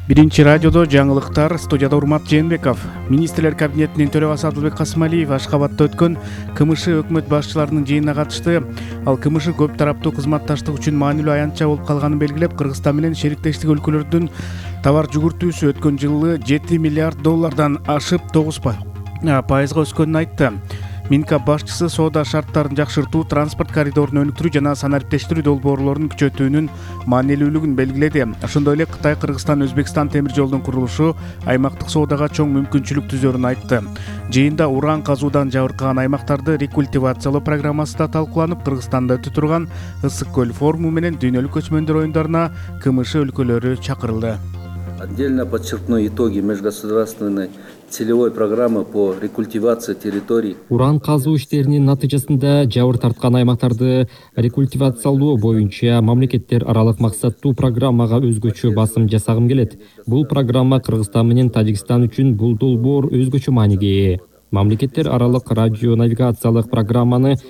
Биринчи радиодо жаңылыктар, студияда Урмат Жээнбеков. Министрлер кабинетинин төрагасы Адылбек Касымалиев Ашкабадта өткөн КМШ өкмөт башчыларынын жыйынына катышты. Ал КМШ көп тараптуу кызматташтык үчүн маанилүү аянтча болуп калганын белгилеп, Кыргызстан менен шериктештик өлкөлөрдүн товар жүгүртүүсү өткөн жылы 7 миллиард доллардан ашып 9% өскөнүн айтты. Минкап башчысы соода шарттарын жакшыртуу, транспорт коридорун өнүктүрүү жана санариптештирүү долбоорлорун күчөтүүнүн маанилүүлүгүн белгиледи. Ошондой эле Кытай, Кыргызстан, Өзбекстан темир жолдун курулушу аймактык соодага чоң мүмкүнчүлүк түзөрүн айтты. Жыйында уран казуудан жабыркаган аймактарды рекультивациялоо программасы да талкууланып, Кыргызстанда өтө турган Ысык көл форуму менен дүйнөлүк көчмөндөр оюндарына КМШ өлкөлөрү чакырылды. Отдельно подчеркну итоги межгосударственной целевой программы по рекультивации территорий. Уран казуу иштеринин натыйжасында жабыр тарткан аймактарды рекультивациялоо боюнча мамлекеттер аралык максаттуу программага өзгөчө басым жасагым келет. Бул программа Кыргызстан менен Тажикстан үчүн бул долбоор өзгөчө мааниге ээ. Мамлекеттер аралык радио навигациялык программаны